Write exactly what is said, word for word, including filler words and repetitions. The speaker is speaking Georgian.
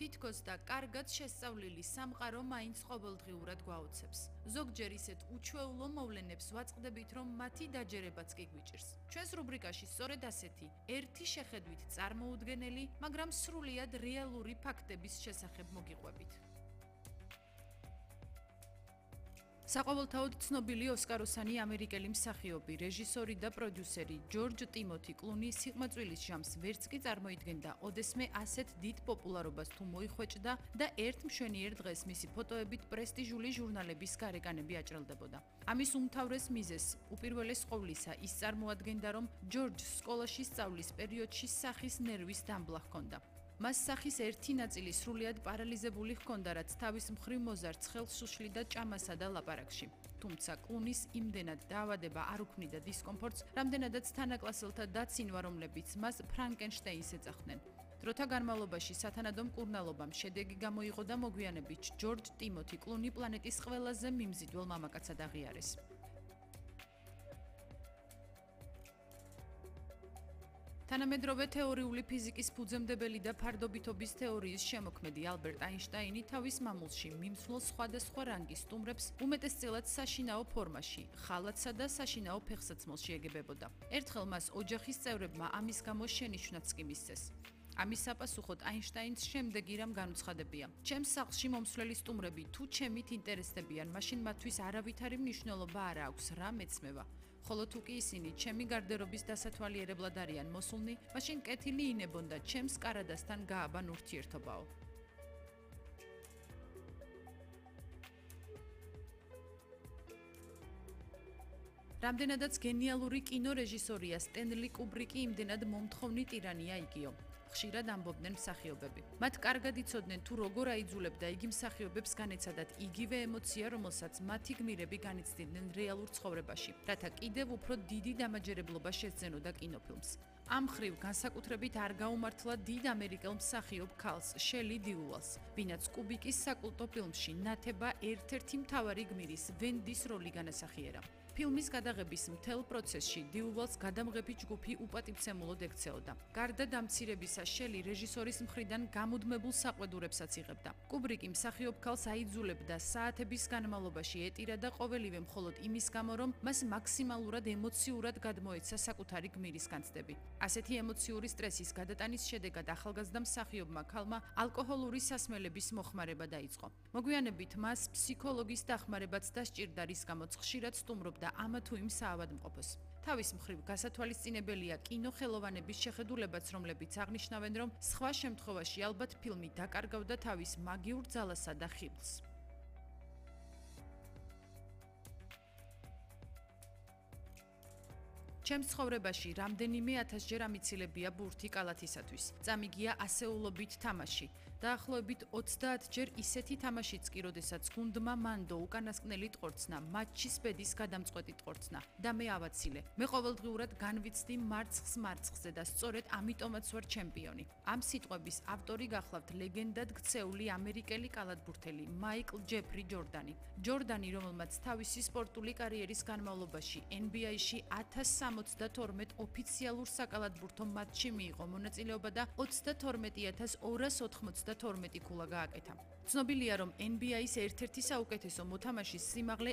თითქოს და კარგად შესწავლილი სამყარო მაინც ყოველდღიურად გვაოცებს. ზოგჯერ ისეთ უჩვეულო მოვლენებს ვაწყდებით, რომ მათი დაჯერებაც კი გვიჭირს. ჩვენს რუბრიკაში სწორედ ასეთი, ერთი შეხედვით წარმოუდგენელი, მაგრამ სრულიად რეალური ფაქტების შესახებ მოგიყვებით. საყოველთაოდ ცნობილი ოსკაროსანი ამერიკელი მსახიობი, რეჟისორი და პროდიუსერი ჯორჯ ტიმოთი კლუნი სიყმაწვილის ჟამს ვერც კი წარმოიდგენდა ოდესმე ასეთ დიდ პოპულარობას თუ მოიხვეჭდა და ერთ მშვენიერ დღეს მისი ფოტოებით პრესტიჟული ჟურნალების გარეკანები აჭრელდებოდა. ამის უმთავრეს მიზეზს უპირველეს ყოვლისა ის წარმოადგენდა, რომ ჯორჯს სკოლაში სწავლის პერიოდში სახის ნერვის დამბლა ჰქონდა. მას სახის ერთი ნაწილი სრულიად პარალიზებული ჰქონდა, რაც თავის მხრივ მოზარდ ხელს უშლიდა ჭამასა და ლაპარაკში. თუმცა კლუნის იმდენად დაავადება არ უქმნიდა დისკომფორტს, რამდენადაც თანაკლასელთა დაცინვა, რომლებიც მას ფრანკენშტეინს ეძახდნენ. დროთა განმავლობაში სათანადო მკურნალობამ შედეგი გამოიღო და მოგვიანებით ჯორჯ ტიმოთი კლუნი პლანეტის ყველაზე მიმზიდველ მამაკაცად აღიარეს. თანამედროვე თეორიული ფიზიკის ფუძემდებელი და ფარდობითობის თეორიის შემოქმედი ალბერტ აინშტაინი თავის მამულში მიმსვლელ სხვადასხვა რანგის სტუმრებს უმეტესწილად საშინაო ფორმაში, ხალათსა და საშინაო ფეხსაცმელში ეგებებოდა. ერთხელ მას ოჯახის წევრებმა ამის გამო შენიშვნაც კი მისცეს. ამის საპასუხოდ აინშტაინს შემდეგი რამ განუცხადებია: ჩემს სახლში მომსვლელი სტუმრები თუ ჩემით ინტერესდებიან, მაშინ მათთვის არავითარი მნიშვნელობა არ აქვს, რა მეცმევა. ხოლო თუ კი ისინი ჩემი გარდერობის დასათვალიერებლად არიან მოსულნი, მაშინ კეთილი ინებონ და ჩემს კარადასთან გააბან ურთიერთობაო. რამდენადაც გენიალური კინორეჟისორია სტენლი კუბრიკი, იმდენად მომთხოვნი ტირანია იგიო. ხშირად ამბობდნენ მსახიობები. მათ კარგად იცოდნენ თუ როგორ აიძულებდა იგი მსახიობებს განეცადათ იგივე ემოცია, რომელსაც მათი გმირები განიცდიდნენ რეალურ ცხოვრებაში, რათა კიდევ უფრო დიდი დამაჯერებლობა შესძენოდა კინოფილმს. ამ მხრივ განსაკუთრებით არ გაუმართლა დიდ ამერიკელ მსახიობ ქალს, შელი დიუვალს, ვინაც კუბიკის საკულტო ფილმში ნათება ერთ-ერთი მთავარი გმირის, ვენდის როლი განასახიერა. ფილმის გადაღების მთელ პროცესში დიუვალს გადამღები ჯგუფი უპატივცემულოდ ექცეოდა. გარდა დამცირებისა, შელი რეჟისორის მხრიდან გამუდმებულ საყვედურებსაც იღებდა. კუბრიკი მსახიობ ქალს აიძულებდა საათების განმავლობაში ეტირა და ყოველივე მხოლოდ იმის გამო, რომ მას მაქსიმალურად ემოციურად გადმოეცა საკუთარი გმირის განცდები. ასეთი ემოციური სტრესის გადატანის შედეგად ახალგაზრდა მსახიობმა ქალმა ალკოჰოლური სასმელების მოხმარება დაიწყო. მოგვიანებით მას ფსიქოლოგის დახმარებაც დასჭირდა, რის გამოც ხშირად სტუმრობდა ამა თუ იმ საავადმყოფოს. თავის მხრივ გასათვალისწინებელია კინოხელოვანების შეხედულებაც, რომლებიც აღნიშნავენ, რომ სხვა შემთხვევაში ალბათ ფილმი დაკარგავდა თავის მაგიურ ძალასა და ხიბლს. ჩემს ცხოვრებაში რამდენიმე ათასჯერ ამიცილებია ბურთი კალათისათვის. წამიგია ასეულობით თამაში. დაახლოებით ოცდაათჯერ ისეთი თამაშიც კი, როდესაც გუნდმა მანდო უკანასკნელი ტყორცნა, მატჩის ბედის გადამწყვეტი ტყორცნა და მე ავაცილე. მე ყოველდღიურად განვიცდი მარცხს მარცხზე და სწორედ ამიტომაც ვარ ჩემპიონი. ამ სიტყვების ავტორი გახლავთ ლეგენდად ქცეული ამერიკელი კალათბურთელი მაიკლ ჯეფრი ჯორდანი. ჯორდანი, რომელმაც თავისი სპორტული კარიერის განმავლობაში ენ ბი აი-ში ათას სამოცდათორმეტ ოფიციალურ საკალათბურთო მატჩში მიიღო მონაწილეობა და ოცდათორმეტი ათას ორას ოთხმოცდათორმეტი ქულა გააკეთა. ცნობილია, რომ ენ ბი აის ერთ-ერთი საუკეთესო მოთამაშის სიმაღლე